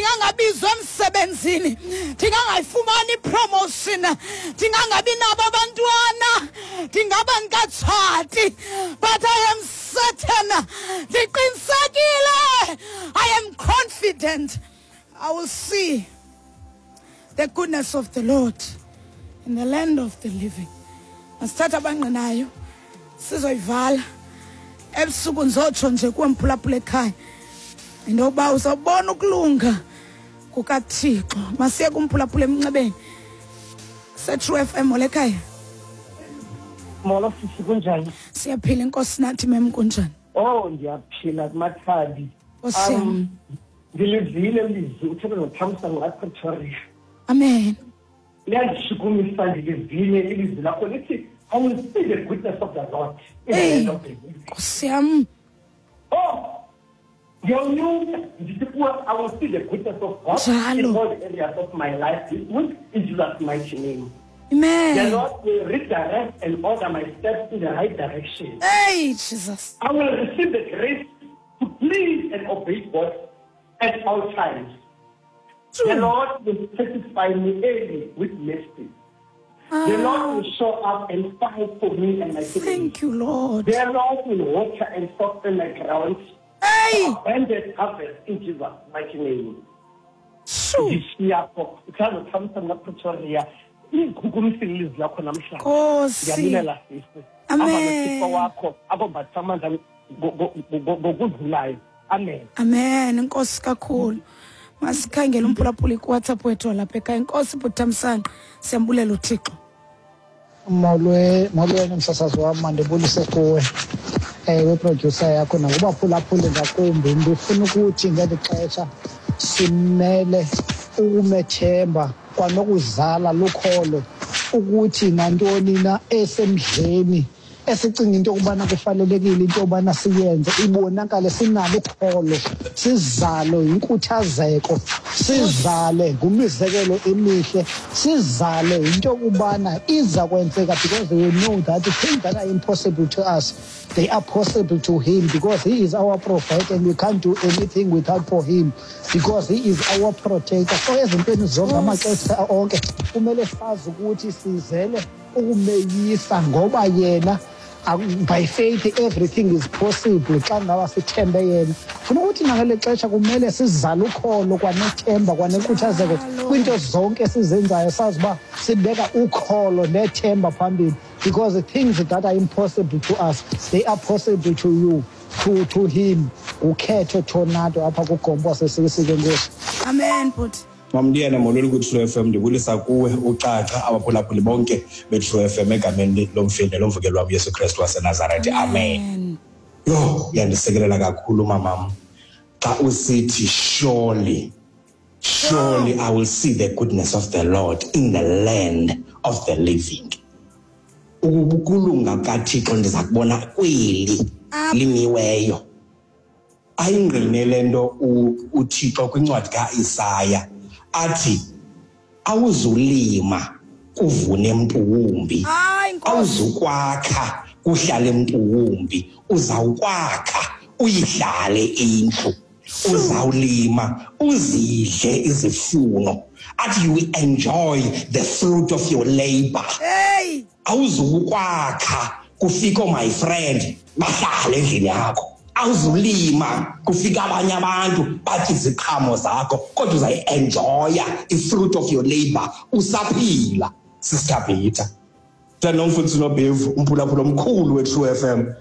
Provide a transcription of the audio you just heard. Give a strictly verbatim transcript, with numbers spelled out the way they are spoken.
Ndingangabizwa emsebenzini, ndingangayifumani ipromotion, ndingangabi nabo abantwana, ndingaba ndikatshati, but I am certain, ndiqinisekile, I am confident I will see the goodness of the Lord in the land of the living. Masithatha abangqinayo, sizoyivala ebusuku. Ndizotsho nje kuwe mphulaphula ekhaya into yokuba uzawubona ukulunga kukaThixo. Masiye kumphulaphula emnxebeni seTrue F M. Molo ekhaya. Molo sisi, kunjani? Siyaphila, inkosi nathi mem, kunjani? Oh, ndiyaphila kumathadi. Nkosi yam. Um, ndilivile ilizwi uthetha noThamsanqa Pretoria. Amen. Liyandishukumisa, ndilivile ilizwi lakho lithi I will see the goodness of the Lord in the Hey. land of the living. Nkosi yam. Oh, ndiyawunyuka ndithi kuwe I will see the goodness of God Njalo. in all the areas of my life this week in Jesus' mighty name. The Amen. Lord will redirect and order my steps in the right direction. Hey Jesus. I will receive the grace to please and obey God at all times. The True. Lord will satisfy me early with mercy. The Lord will show up and fight for me and my family. Thank you, Lord. The Lord will water and soften my ground. Hey. Abundant harvest in Jesus' mighty name. Sure. Ndishiya pho uthando Pretoria. Ichukumisile ilizwi lakho namhlanje. Nkosi. Ndiyabulela sisi. Amen. Hamba noThixo wakho akombatha amandla ngo- ngo- ngo- ngokudlulayo. Amen. Amen, inkosi kakhulu. Masikhangele umphulaphuli kuWhatsApp wethu walapha ekhaya. Inkosi bhuti Thamsanqa, siyambulela uThixo. Molwe, molweni msasazi wam, mandibulise kuwe, ewe producer yakho, nakubaphulaphuli ngakumbi. Ndifuna ukuthi ngeli xesha simele ukumethemba kwanokuzala lukholo ukuthi nantoni na esemdleni esicinga into yokubana kufanelekile into yobana siyenze ibonakale sinalo ukholo, sizale yinkuthazeko, sizale ngumizekelo emihle, sizale yinto yokubana iza kwenzeka, because we know that things that are impossible to us, they are possible to him, because he is our provider and we can't do anything without for him, because he is our protector. So ezintweni zonke, amaxesha onke, kumele sazi ukuthi sizele ukumeyisa ngoba yena ak- by faith everything is possible xa ngaba sithembe yena. Funa ukuthi nangeli xesha kumele sizale ukholo kwanethemba kwanenkuthazeko kwiinto zonke esizenzayo, sazi uba sibeka ukholo nethemba phambili, because the things that are impossible to us, they are possible to you to, to him. Ukhetho Tornado apha kuGompo waseSikisike, nkosi. Amen bhuti. Mamndiyana, molweni kwi-True F M. Ndibulisa kuwe ucaca abaphulaphuli bonke be-True F M egameni lomfeli nelomvukeli wam Yesu Kristu waseNazaretha, amen. Amen. Yho, uyandisikelela kakhulu mamam xa usithi surely, surely I will see the goodness of the Lord in the land of the living. Ukulunga kaThixo ndiza kubona kweli limiweyo. Ayingqine le nto u- uThixo kwincwadi kaIsaya athi awuzulima kuvune mntu wumbi. Hayi Nkosi. Awuzukwakha kuhlale mntu wumbi, uzawukwakha uyihlale indlu, uzawulima uzidle izifuno, athi you enjoy the fruit of your labor. Hey. Awuzukwakha kufika my friend bahlale endlini yakho, awuzulima kufika abanye abantu batye iziqhamo zakho, kodwa uzayi-enjoya i-fruit of your labor usaphila. Sister Peter nomfundisi Nobhevu, umphulaphula omkhulu we-True F M.